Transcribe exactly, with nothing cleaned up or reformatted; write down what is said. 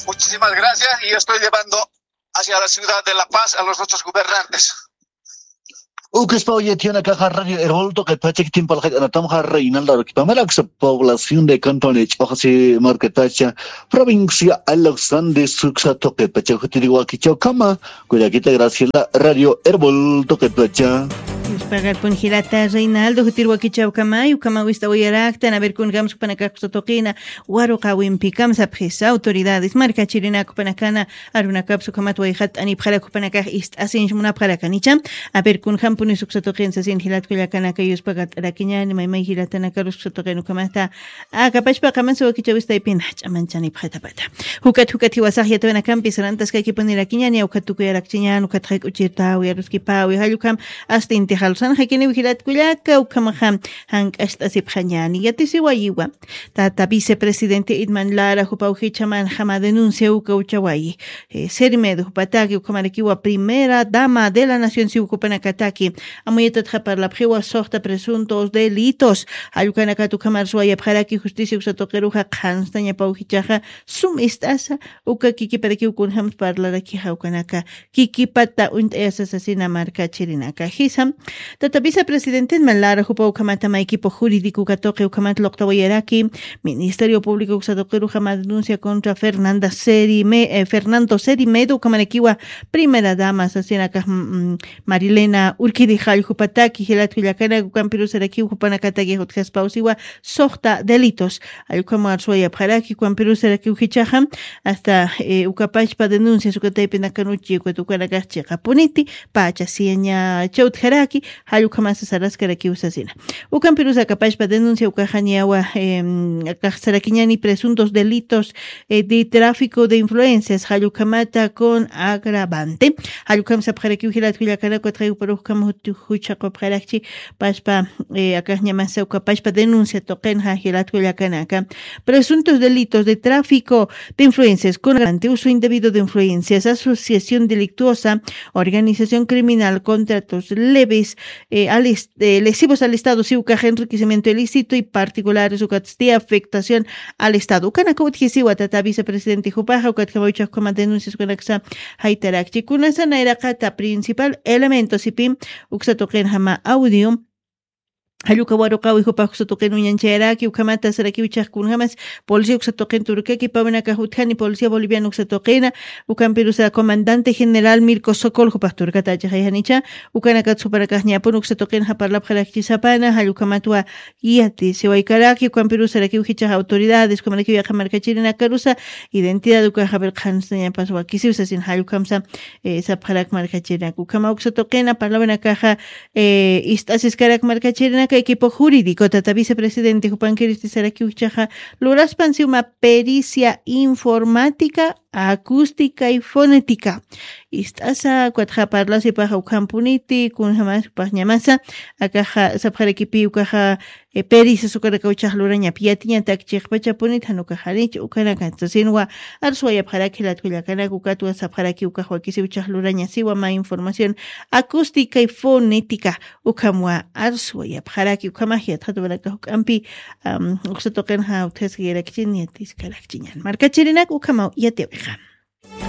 Muchísimas gracias y estoy llevando hacia la ciudad de La Paz a los otros gobernantes. Ukispa uyatiyana kaja Radio Erol tuqitpacha kitimpa laqit anatamja Reinaldo Arequipa Maraxa, población de Cantón Ch'oxsi markatacha, provincia Alexander Suxa tuqitpacha jutiriwakichawkama, kuyakita Graciela Radio Erol tuqitpacha. Yuspagarpun jilata Reinaldo jutirwakichawkama, yukama wista uyaraktan, a ver, kun gamspanakaxa tuqina, waruqawimpi kamsapxis autoridades markachirinakpanakana, arunakapsu kamat wayxat anipxarakpanakax ist'asinch munapxarakanicha. A ver, kun jampuni suksa tuqin sasin jilat kullakanaka yuspagart'arakiñani, maymay jilatanakaru suksa tuqin ukamata. Akapachpa qamansa wakichawistaypina ch'amanchanipxatapata. Jukat jukat jiwasax yatawinakampis rantaskakipunirakiñani, ukat tukuyarakchiñan, ukat jaykuchirtawi aruskipawi jallukam, astinti jalsan jakiniw jilat kullaka ukamaxa jank'acht'asipxañani yatisiwayiwa. Tata vicepresidente Idman Lara jupaw jichaman jama denuncia uka uchawayi. Eh, Sermed jupataki ukamarakiwa primera dama de la nación si ukapanakataki. Amuyatatxa parlapxiwa soxta presuntos delitos. Jallukanakat ukamar suwayapxaraki justicia uksatuqiruxa qhanstañapaw jichaxa sum ist'asa uka kikiparakiw kunjam parlarakixa ukanaka kikipata uñt'ayasa sasina markachirinaka. Jisa, tata vicepresidentenman Lara jupa ukhamata ma equipo jurídico katuqi ukhamata luqtawayaraki Ministerio Público uksatuqiruxa ma denuncia contra Fernanda Seri Me-, eh, Fernando Seri Medo ukhamarakiwa primera dama sasinaka, mm, Marilena Urquidi jallukupataki jilat kullakanak ukampirusarakiw jupanakataki jutjaspawsiwa soxta delitos. Jallukama arsuwayapxaraki ukampirusarakiw jichaxa hasta, eh, ukapachpa denuncias ukataypinakanuchi ukat ukanakax chiqapuniti pacha siña chawtjaraki. Jallukhamasa saraskarakiw sasina. Ukampirusa akapachpa denuncia ukaxañawa, em, akaxsarakiñani presuntos delitos, eh, de tráfico de influencias jallukhamata con agravante. Jallukham sapxarakiw jilat kullakanak ukat jaykuparux ukham juchaqupxarakchi paspa, eh, akaxñamasa ukapachpa denuncia tuqinxa jilat kullakanaka. Presuntos delitos de tráfico de influencias con agravante, uso indebido de influencias, asociación delictuosa, organización criminal, contratos leves, eh, al est-, eh, lesivos al Estado, si ukax enriquecimiento ilícito y particulares ukatsti afectación al Estado. Ukanaka utjisiwa tata vicepresidente jupaxa ukat kama uchax ukhama denuncias ukanaksa jaytarakchi. Kunasa nayraqata principal elemento sipim uksa tuqinjama audio. Jalluka waruqawi jupax uksa tuqin uñanchayaraki ukhamata sarakiw chax kunjamas policía uksa tuqin turkaki pawinakax utjani policía boliviano uksa tuqina ukampirusa comandante general Mirko Sokol jupax turkata achajayjanicha. Ukanakat jupanakax ñapun uksa tuqinxa parlapxarakchisapana jallukhamatwa yati siwaykaraki ukampirusarakiw jichax autoridades ukamarakiw yaqha markachirinakarusa identidad ukaxa ver qhanstañapas wakisiw sasin jallukhamsa, eh, sapxarak markachirinak ukhama uksa tuqina parlawanakaxa, eh, ist'asiskarak markachirinaka equipo jurídico tata vicepresidente jupankiristi sarakiw jichaxa luraspan siwma pericia informática acústica y fonética. Ist'asa ukatxa parlasipaxa ukhampuniti kunjamas upaxñamasa akaxa sapxarakipi ukaxa, eh, perisas ukanaka uchax lurañap yatiñatak chiqpachapunit jan ukaxanich ukanaka sasinwa arsuwayapxaraki jilat kullakanak ukatwa sapxaraki ukax wakisi uchax lurañasiwa ma información acústica y fonética ukhamwa arsuwayapxaraki ukhamax yatxatuwanaka juk'ampi, am, uksa tuqinxa utjaskayarakchin yatiskarakchiñan markachirinak ukhamaw yatiyawixa.